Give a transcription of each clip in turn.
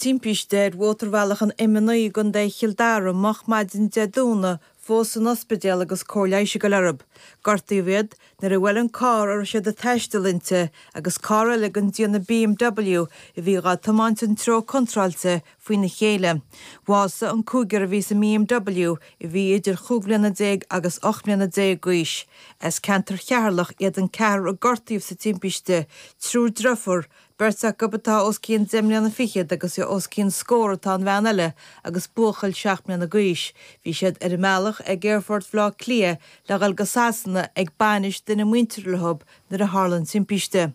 timpiste ar mhótarbhealach an M9 i gContae Chill Dara moch maidin Dé Domhnaigh fós san ospidéal agus cóir leighis ag dul orthu. Gortaíodh iad nuair a bhuail an carr a raibh siad ag taisteal inti agus carr eile den déanamh BMW a bhí dhá tiomáint an treo contráilte faoina chéile. Bhásaigh an cúigear a bhí sa mBMW a bhí idir chúig bhliana déag agus 18 mbliana d'aois. As ceantar Cheatharlach iad an ceathrar a gortaíodh sa timpiste, triúr driofúr, Beirt acu atá os cionn deich mbliana fichead agus os cionn scór atá an bhean eile agus buachaill 7 mbliana d'aois. Bhí siad ar a mbealach ag Aerfort Bhaile Átha Cliath le dhul go Sasana ag bainis duine muinteartha leo nuair a tharla an timpiste.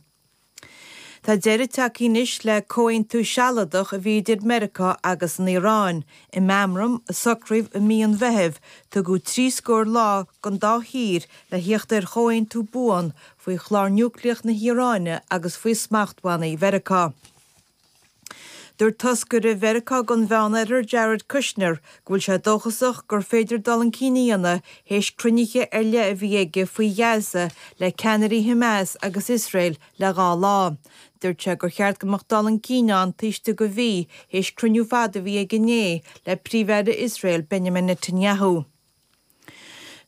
Tá deireadh tagtha anois le comhaontú sealadach a bhí idir Meiriceá agus an Iaráin. I meamram a socraíodh i mí an Mheithimh, tugadh trí scór lá don dá thír le thíocht ar chomhaontú buan faoi chlár núicléach na hIaráine agus faoi smachtbhannaí Mheiriceá. Dúirt toscaire Mheiriceá don Mheánoirthear Jared Kushner go bhfuil sé dóchasach gur féidir dul chun cinn a dhéanamh théis cruinnithe ar leith a bhí aige faoi Ghaza le ceannairí Hamas agus Iosrael le dhá lá. Dúirt sé gur cheart go mbeadh dul chun cinn ann taobh istigh de mhí théis cruinniú fada a bhí aige inné le Príomh-Aire Iosrael Benjamin Netanyahu.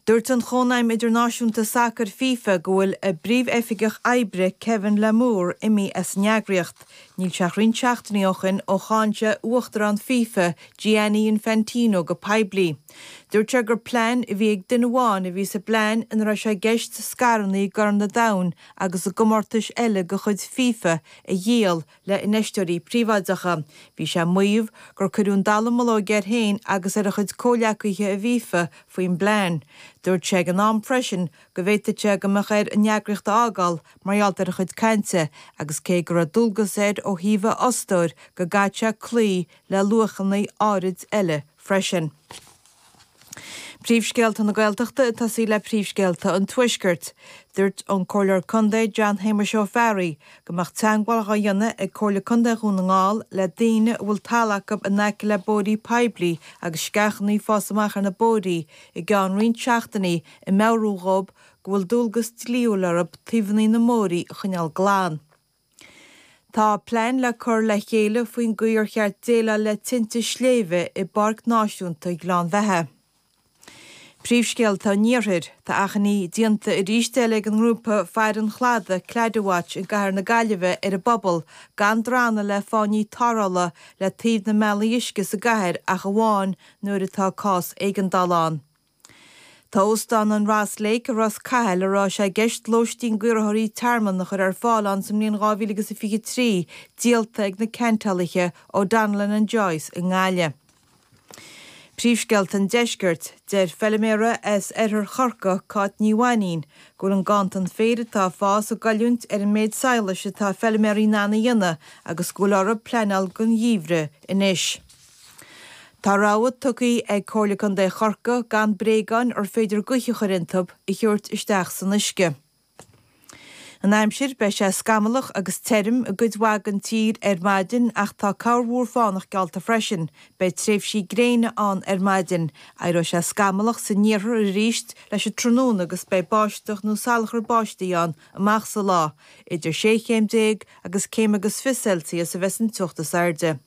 Dúirt an Chónaidhm Idirnáisiúnta Sacair, FIFA, go bhfuil a bpríomhoifigeach oibre, Kevin Lamour, imithe as an eagraíocht. Níl sé ach roinnt seachtainí ó shin ó cháin sé uachtarán FIFA, Gianni Infantino, go poiblí. Dúirt sé gur plean a bhí ag duine amháin a bhí sa bplean ina raibh sé i gceist scaireanna i gCorn an Domhain agus i gcomórtais eile de chuid FIFA a dhíol le infheisteoirí príobháideacha. Bhí sé ag maíomh gur cuireadh an dallamullóg air féin agus ar a chuid comhghleacaithe i bhFIFA faoin bplean. Dúirt sé ag an am freisin go bhféadfadh sé go mbeadh air an eagraíocht a fhágáil mar gheall ar a chuid cainte agus cé go raibh dualgas air ó thaobh a fhostóir go gcaithfeadh sé cloí le luachanna áirid eile freisin. Príomhscéalta na Gaeltachta ag tosaí le príomhscéalta an Tuaiscirt. Dúirt an Comhairleoir Contae John Shéamuis Ó Fearraigh go mbeadh teagmháil dhá dhéanamh ag Comhairle Contae Dhún na nGall le daoine a bhfuil talamh acu in aice le bóithrí poiblí agus sceachanna ag fás amach ar na bóithrí i gceann roinnt seachtainí ag meabhrú dhób go bhfuil dualgas dlíthiúil orthu taobhanna na mbóithrí a choinneáil glan. Tá plean le cur le chéile faoin gcaoi ar cheart déileáil le tinte sléibhe i bPáirc Náisiúnta Ghleann Bheatha. Príomhscéalta an Iarthair, Tá achainí déanta arís eile ag an ngrúpa Faire an Chladaigh, Claddagh Watch, i gcathair na Gaillimhe ar an bpobal gan drannadh le fáinní tarrthála le taobh na mbealaí uisce sa gcathair ach amháin nuair atá cás éigeandála ann. Tá Óstán an Ross Lake i Ros Cathail, a raibh sé i gceist lóistín d'iarrthóirí tearmainn a chur ar fáil ann sa mbliain 2023, díolta ag na ceantálaithe O'Donnellan and Joyce i nGaillimh. Príomhscéalta an Deiscirt, Deir feilméara as oirthear Chorcaí, Cáit Ní Mhainín, go bhfuil an ganntan féir atá ag fás ag goilliúint ar an méid sadhlais atá feilméaraí in ann a dhéanamh agus go bhfuil orthu pleanáil don gheimhreadh anois. Tá rabhadh tugtha ag Comhairle Contae Chorcaí gan bréagáin ar féidir gaoth a chur iontu a thabhairt isteach san uisce. An aimsir, Beidh sé scamallach agus tirim i gcuid mhaith den tír ar maidin ach tá corrmhúr fánach geallta freisin. Beidh tréimhsí gréine ann ar maidin. Éireoidh sé scamallach san iarthar arís leis an tráthnóna agus beidh báisteach nó salachar báistí ann amach sa lá. Idir 16 chéim agus céim agus 20 Celsius a bheas an teocht is airde.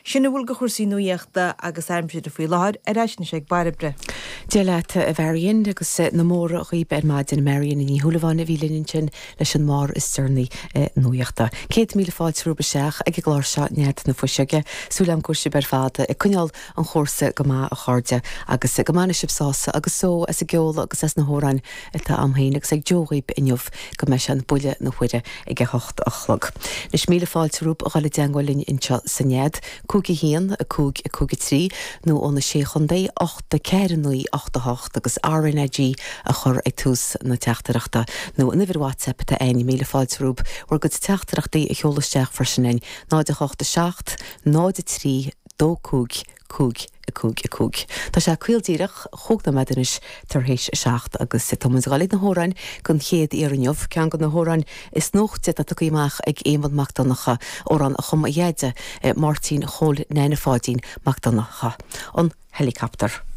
Sin a bhfuil de chúrsaí nuaíochta agus aimsire faoi láthair, ar ais anois ag Bairbre. Dia leat a Mharion agus na móra dhaoib ar maidin. Marion Ní Shúilleabháin a bhí linn ansin leis an mbarr is deireanaí nuaíochta. 100,000 fáilte romhaibh isteach ag an gclár seo Nead na Fuiseoige. Súil agam go bhfuil sibh ar fad ag coinneáil an chúrsa go maith a chairde agus go mbainfidh sibh sásamh agus só as an gceol agus as na hamhráin atá a'm féin agus ag Joe dhaoib inniu go mbeidh sé an buille na huaire ag a hocht a chlog. Anois míle fáilte romhaibh a dhul i dteangmháil linn anseo sa Nead, 5 1 5 5 3 nó ó na Sé Chontae, 8 4 9 8 8 agus RnaG a chur ag tús na teachtaireachta nó an uimhir WhatsApp atá a'inn, míle fáilte romhaibh bhur gcuid teachtaireachtaí a sheoladh isteach freisin a'inn, 0 8 7 0 3 2 5 5, 5, 5. Tá sé caol díreach, chúig nóiméad anois tar éis a seacht agus tá muid ag dul ag na hamhráin don chéad iarraidh inniu. Ceann de na hamhráin is nuachta atá tugtha amach ag Éamonn Mac Donncha, amhrán a chum a dheaide, Máirtín Chóil Neaine Pháidín Mac Donncha, An Helicopter.